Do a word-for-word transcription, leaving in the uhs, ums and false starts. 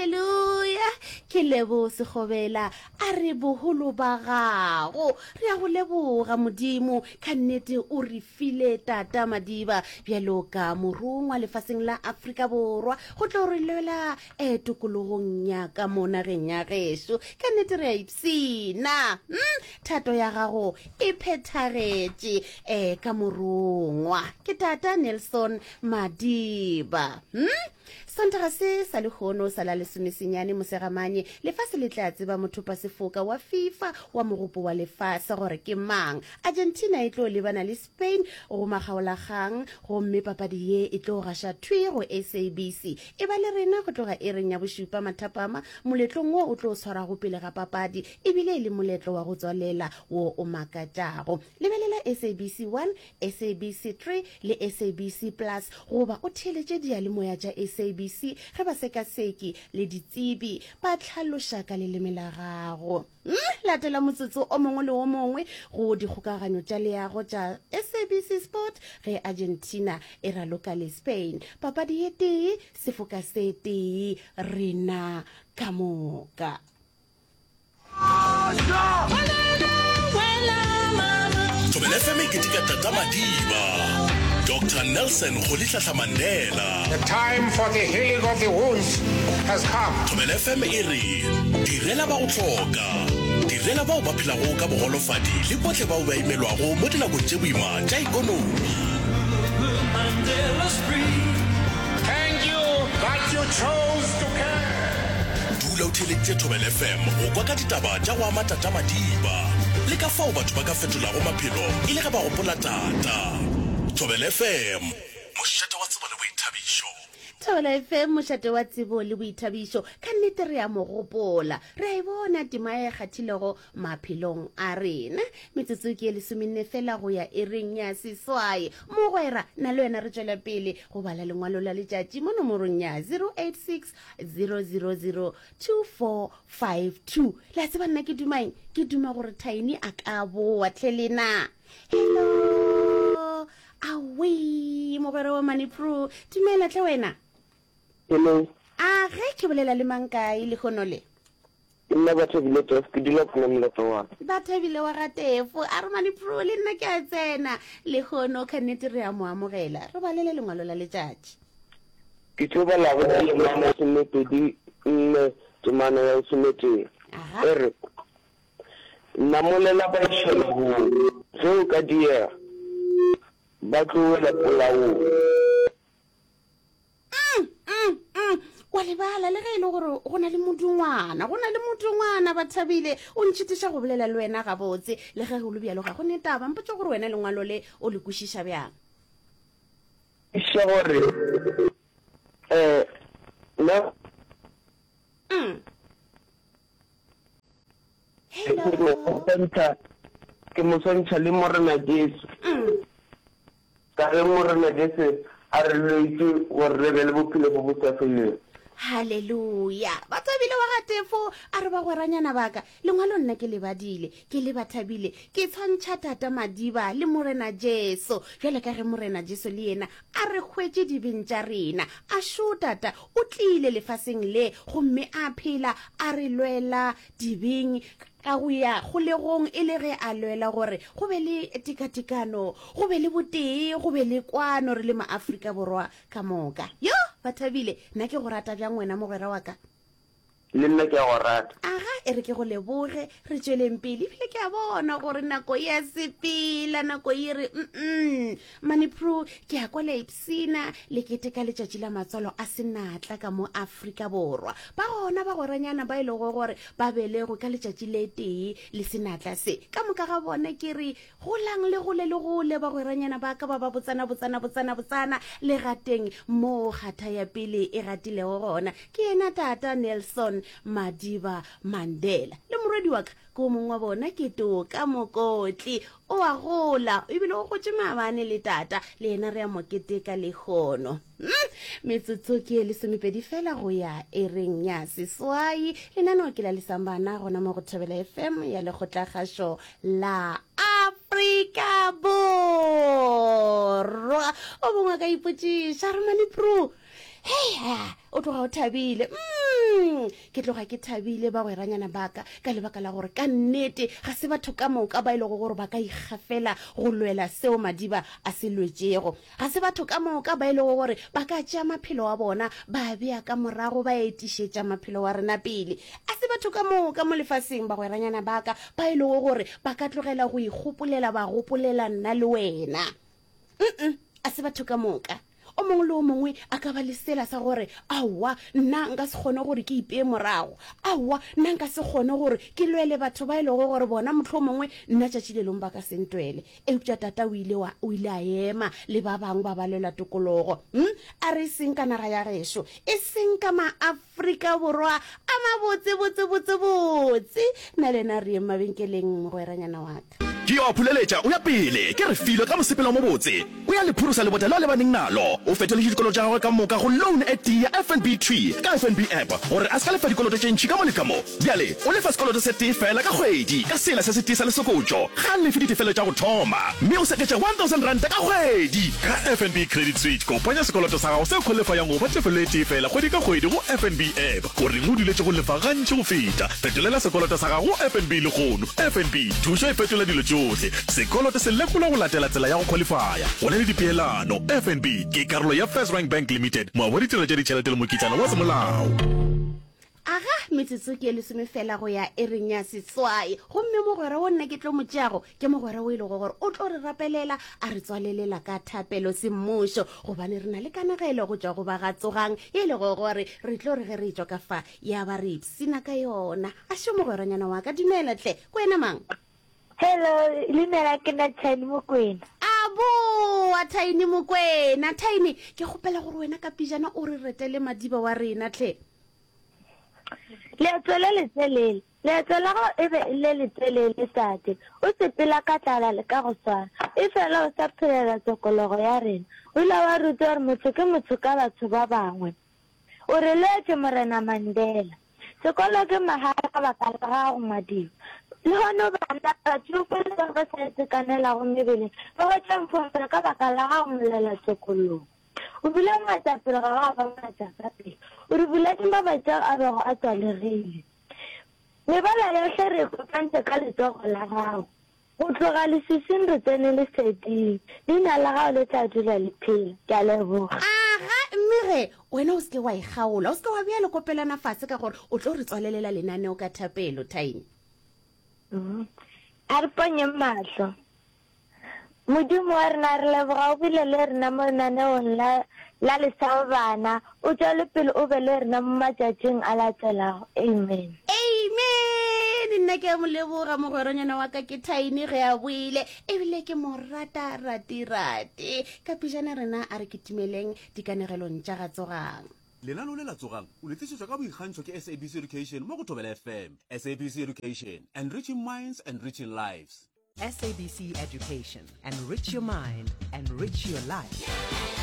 Haleluya! Ke Lebo Sekgobela a re boholo ba gago. Re a go leboga Modimo, ka nnete o re file Tata Madiba bjalo ka morongwa lefaseng la Afrika Borwa go tlo re lwela eh, tokologong ya ka mo nageng ya gešo. Ka nnete re a ipshina. Hmm? Thato ya gago e phethagetše eh, ka morongwa. Ke Tata Nelson Madiba. Hmm? Sontaga se sa lehono sa la lesomesenyane Mosegamanye, lefase le tla tseba mothopasefoka wa FIFA wa Mogopo wa Lefase gore ke mang. Argentina e tlo lebana le Spain go makgaolakgang gomme papadi ye e tlo gaša thwi go S A B C. E ba le rena go tloga iring ya bošupa mathapama moletlong wo o tlo tshwarago pele ga papadi ebile e le moletlo wa go tswalela wo o makatšago. Lebelela S A B C one, S A B C three le S A B C Plus goba o theeletše diyalemoya tša S A B C ge basekaseki le ditsebi ba hlaloša ka leleme la gago. Mm, latela motsotso o mongwe le o mongwe go dikgokaganyo tša leago tša S A B C Sport ge Argentina e raloka le Spain. Papadi ye tee, sefoka se tee, rena ka moka. Thobela F M e keteka Tata Madiba, Doctor Nelson Rolihlahla Mandela. The time for the healing of the wounds has come. Thobela F M e re direla ba go hloka, direla bao ba phelago ka bogolofadi le bohle bao ba imelwago mo dinakong tše boima tša ekonomi. Thank you that you chose to care. Dula o theeleditše Thobela F M go kwa ka ditaba tša go ama Tata Madiba le ka fao batho ba ka fetolago maphelo e le ge ba gopola Tata. Thobela F M, mošate wa tsebo le boithabišo. Thobela F M, mošate wa tsebo le boithabišo. Ka nnete re a mo gopola, re a e bona tema e kgathilego maphelong a rena. Metsotso ke e lesomenne fela go ya iring ya seswai. Mogwera, nna le wena re tšwela pele go bala lengwalo la letšatši mo nomorong ya zero eight six zero zero zero two four five two. Le a tseba nna ke dumaeng? Ke duma gore Tiny a ka boa tlhe lena. Hello, awe mogwera wa Manipro, dumela tlhe wena. Hello. A ge ke bolela le mang, kae lehono le? Ke nna Bathabile Tef, ke dula kona molato wa ka. Bathabile wa Gatefo a re Manipro le nna ke a tsena lehono. Ka nnete re a mo amogela. Re balele lengwalo la letšatši. Ke tlo bala go Jeremia masomepedi nne temana ya lesometee. Aha. E re, namolela ba iša lehung, ge o ka diega, ba tlo wela polaong. Mm, mm, mm. wa lebala le ge e le gore go na le modungwana, go na le modungwana. Bathabile o ntšhitiša go bolela le wena gabotse. Le ge go le bjalo, ga go ne taba. Mpotse gore wena lengwalo le o le kwešiša bjang? Iša gore um na mm. ke mo Hello. swantšha, ke mo swantšha le Morena Jesu. mm. Ka ge Morena Jesu a re lwetše gore re be le bophelo bo bo sa felego. Halleluja! Bathabile wa Gatefo a re, bagweranyana baka, lengwalo nna ke le badile ke le Bathabile. Ke tshwantšha Tata Madiba le Morena Jesu, bjale ka ge Morena Jesu le yena a re hwetše dibeng tša rena. A šo Tata o tlile lefaseng le gomme a phela a re lwela dibeng ka go ya kgolegong, e le ge a lwela gore go be le tekatekano, go be le botee, go be le kwano re le Maafrika Borwa ka moka. Yo Bathabile, nna ke go rata bjang wena mogwera wa ka. Le nna ke a go rata. Aga, e re ke go leboge, re tšweleng pele. Ebile ke a bona gore nako ya sepela, nako e re mm Manipro. Ke a kwa le ipsina le keteka letšatši la matswalo a senatla ka mo Afrika Borwa. Ba gona bagweranyana ba e lego gore ba belegwe ka letšatši le tee le senatla se. Ka moka ga bona ke re golang le gole le gole, bagweranyana ba ka ba ba botsana botsana botsana botsana le gateng moo kgatha ya pele e gatilego gona, ke yena Tata Nelson Madiba Mandela. Le morwedi wa ka ke o mongwe wa bona, ke Toka Mokotli, o a gola ebile o gotse maabane le tata, le yena re a mo keteka lehono. Mm, metsotso ke e lesomepedi fela go ya iring ya seswai. Lenaneo ke la Lesambana gona mo go Thobela F M ya Lekgotlakgašo la Afrika Borwa. O mongwe a ka ipotšiša re, Manipro, hei, o tloga o thabile. mm, Mm, ke tloga ke thabile bagweranyana ba ka ka lebaka la gore ka nnete ga se batho ka moka ba e lego gore ba ka ikgafela go lwela seo Madiba a se lwetšego. Ga se batho ka moka ba e lego gore ba ka tšea maphelo a bona ba a bea ka morago ba etišetša maphelo a rena pele. A se batho ka moka mo lefaseng bagweranyana ba ka ba e lego gore ba ka tlogela go ikgopolela ba gopolela nna le wena. Mm-mm, a se batho ka moka. O mongwe le o mongwe a ka ba le sela sa gore, Aowa, nna nka se kgone gore ke ipee morago. Aowa, nna nka se kgone gore ke lwele batho ba e lego gore bona mohlomongwe nna tšatši le lengwe ba ka se ntwele. Eupša tata o ile wa, o ile a ema le ba bangwe ba ba lwela tokologo. Hm? A re e seng ka naga ya gešo, e seng ka Maafrika Borwa a mabotse, botse, botse, botse. Nna le wena re yeng mabenkeleng, mogweranyana wa ka. Ke yo a phuleletša o ya pele, ke Refilwe ka mosepelo o mobotse. O ya le phurosa lebota leo a lebaneng nalo. O fetoletše dikoloto tša gagwe ka moka go loan e tee ya F N B thwi ka F N B app gore a se ka lefa dikoloto tše ntši ka mo le ka mo. Bjale o lefa sekoloto se tee feela ka kgwedi ka sela se setee sa lesokotšo. Ga a lefe ditefelo tša go thoma mme o seketša one thousand ranta ka kgwedi. Ka F N B Credit Switch, kopanya sekoloto sa gago se khwalifayang go ba tefelo e tee feela kgwedi ka kgwedi go F N B app. O reng o duletše go lefa gantši go feta? Fetolela sekoloto sa gago go F N B lehono. F N B, thušo e fetola dilo tšohle. Sekoloto se lekolwa go latela tsela ya go khwalifaya. Go na le dipeelano. F N B ke karolo ya FirstRand Bank Limited, moabi wa ditirelo tša ditšhelete le mokitlana wa semolao. Aga, metsotso ke e lesome fela go ya iring ya seswai, gomme mogwera wo nna ke tlo mo tšeago ke mogwera wo e lego gore o tlo re rapelela a re tswalelela ka thapelo semmušo, gobane re na le kanegelo go tšwa go ba ga Tsogang e lego gore re tlo re ge re etšwa ka fa ya ba re ipshina ka yona. A šo mogweranyana wa ka, dumela hle, ke wena mang? Hello, leina la ke nna Tiny Mokwena. A boa, Tiny Mokwena. Tiny, ke kgopela gore wena ka pejana o re retele Madiba wa rena hle. Leeto le letelele. Leeto la gago e be e le letelele, tate. O sepela ka tlala le ka go swara. Efela o sa phelela tokologo ya rena. O ile wa rutwa gore motho ke motho ka batho ba bangwe. O re lwetše, Morena Mandela. Sekolo ke mahala ka baka la gago, Madiba. Lehono bana, batšofe le bao ba sa itekanelago mebeleng ba hwetša mfomfela ka baka la gago, molwelatokologo. O bile moetapele ga wa ba moetapele. O re buletše mabati ao a bego a tswalegile. Mebala yohle re e kopantše ka letsogo la gago. Go tloga leswiswing re tsene leseding. Leina la gago le tla dula le phela. Ke a leboga. Aga, mme ge, wena o se ke wa e kgaola. O se ke wa bea lekopelwana fase ka gore o tlo re tswalelela lenaneo ka thapelo, Tiny. A re ponyeng mahlo. Modimo wa rena, re leboga o bile le rena mo lenaneong la, la Lesabo Bana. O tšwele pele o be le rena mo matšatšing a latelago. Amen. Amen. Nna ke a mo leboga mogweranyana wa ka ke Tiny ge a boile, ebile ke mo rata rati-rati. Ka pejana rena a re kitimeleng dikanegelong tša ga Tsogang. Lenaneo le la Tsogang o le tlišetšwa ka boikgantšho ke S A B C Education mo go Thobela F M. S A B C Education, enriching minds, enriching lives. S A B C Education, enrich your mind, enrich your life.